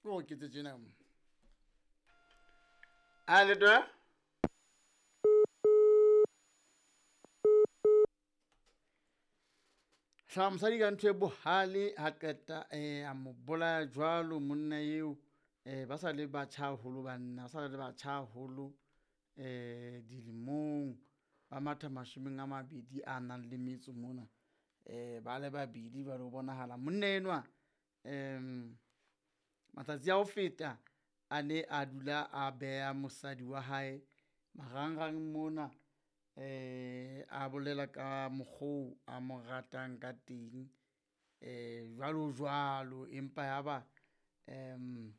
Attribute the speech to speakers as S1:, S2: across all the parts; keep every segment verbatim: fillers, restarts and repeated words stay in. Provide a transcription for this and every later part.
S1: Ko ke tse tjena. A le twa? Hlaba mosadi ka ntho e bohale ha qeta eh a mo bolaya jwalo monna eo eh ba sa le batjha haholo banna ba sa le batjha haholo eh dilemong ba matha mashome a mabedi a nang le metso mona eh ba le babedi ba lo bonahala monna enwa em matsatsi a ho feta a ne a dula a beha mosadi wa hae marangrang mona eh a bolela ka mokgo a mo ratang ka teng eh jwalo jwalo empa yaba em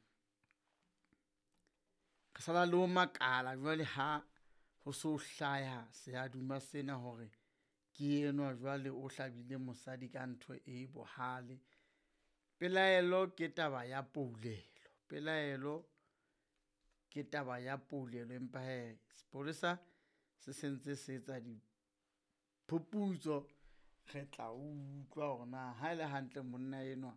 S1: re sala le ho makala jwale ha ho so hlaya seaduma sena hore ke enwa jwale o hlabile mosadi ka ntho e bohale. Pelaelo ke taba ya poulelo, pelaelo ke taba ya poulelo empa hee sepolesa se sentse se etsa diphuputso re tla utlwa hore na ha ele hantle monna enwa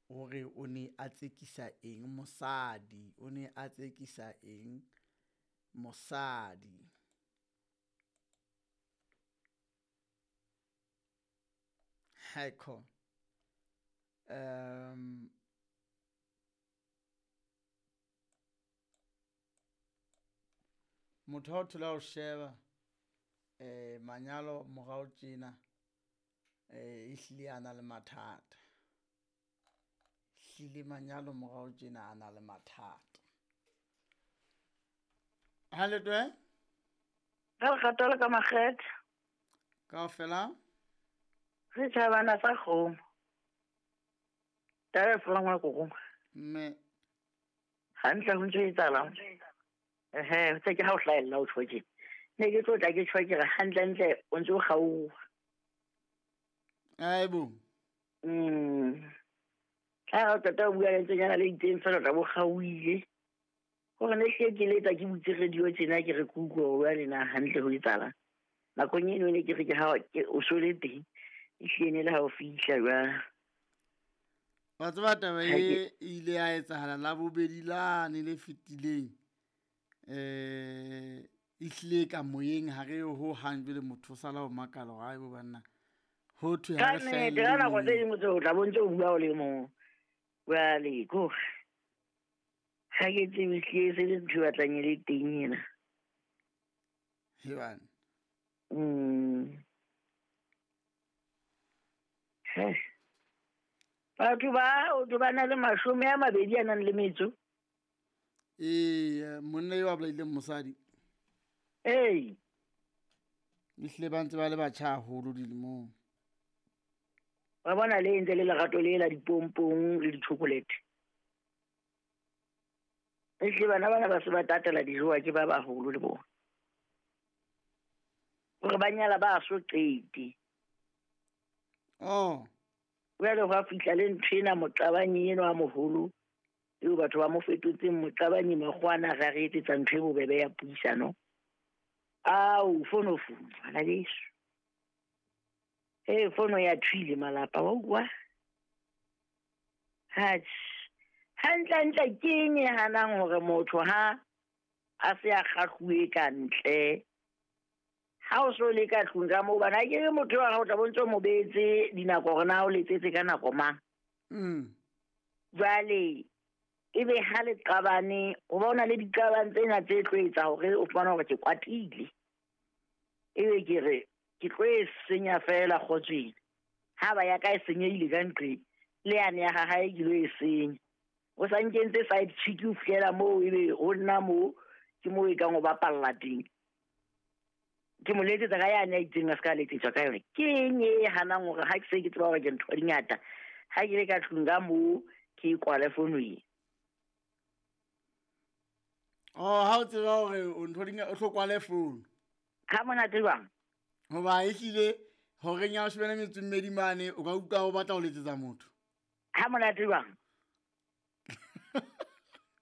S1: o re o ne a tsekisa eng mosadi, o ne a tsekisa eng mosadi. Haiko um motho ha o thola o sheba eh manyalo morao tjena eh ehlile a na le mathata, hlile manyalo morao tjena a na le mathata. Ha le twe
S2: Ka lerato le ka makgethe
S1: kaofela
S2: setjhabana sa kgomo taba e fola ngwana kokong
S1: mme
S2: hantle ho ntso etsahalang ehe tse ke ha o hlahella o tjho tje ne ke tlo tla ke tjho ke re hantlentle o ntso o kgaoha
S1: aibo
S2: mm ha o qeta ho bua lentswenyana le itseng fela o tla bo kgaohile hore ne hle ke letsa ke butse radio tjena ke re ke utlwe hore jwale na hantle ho etsahalang nakong eno ne ke re ke ha ke o so le teng ehlile ne le ha o fihla jwale.
S1: Wa tseba taba
S2: Ha
S1: e
S2: ke-
S1: ile ya etsahala la bobedi lane le fetileng eh ehlile ka moyeng ha re ho hang jwale motho o sala ho makala hore aibo banna ho thwe ha
S2: Ka
S1: re
S2: nnete
S1: hlahelle
S2: ka nako tse
S1: moyeng.
S2: ding o tla bo ntse o bua o le mong jwale kore ha ke tsebe ehlile se le ntho e batlang e le teng ena.
S1: He bana.
S2: Mm. He. Batho ba o ba na le mashome a mabedi a nang le metso.
S1: Ee, monna eo a bolaileng mosadi
S2: Ee,
S1: ehlile ba ntse ba le batjha haholo dilemong.
S2: wa bona le entse le lerato le la dipompong le di-chocolate. Ehlile bana bana ba se ba tatela dijowa ke ba baholo le bona. Hore ba nyala ba so qete.
S1: Oh,
S2: Jwale hwa fihla le ntho ena moqabanyi enwa a moholo eo batho ba mo fetotseng moqabanyi makgowa ra re etsetsa ntho e bobebe ya puisano. Ao fono fono bana beso. Ee fono ya thwile malapa wa utlwa. Atjhe hantlentle ke eng e hanang hore motho ha a se a kgahluwe ka ntle ha o so le ka tlung ka moo bana ke re motho wa hao o tla bo ntso mo beetse dinako hore na o letsetse ka nako mang.
S1: mm.
S2: Jwale ebe ha le qabane ho ba o na le diqabang tsena tse tlo etsa hore o fumane hore ke kwatile. Ebe ke re ke tlo e senya fela kgotsweng. Ha ba ya ka e senyehile ka nqe le yane ya hae ke lo e senya. O sa nkentse side chick o fihlela moo ebe ho nna moo ke moo e kang o bapalla teng. Ke mo letsetsa ka yane a itseng a se ka letsetswa ka yona. Ke eng e hanang hore ha ke se ke tseba hore ke ntho di ngata ha ke le ka tlung ka moo ke e kwale fono e.
S1: Oh, ha o tseba hore o ntho di o tlo kwale phone.
S2: Ha monate jwang?
S1: Hoba ehlile horeng ya leshome le metso e mmedi mane o ka utlwa o batla ho letsetsa motho.
S2: Ha monate jwang?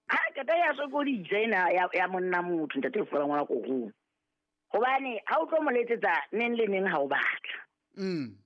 S2: Ha qeta ya sokodisa ena ya ya monna motho ntate o fola ngwana korong. Hobane ha o tlo mo letsetsa neng le neng ha o batla.
S1: Mm.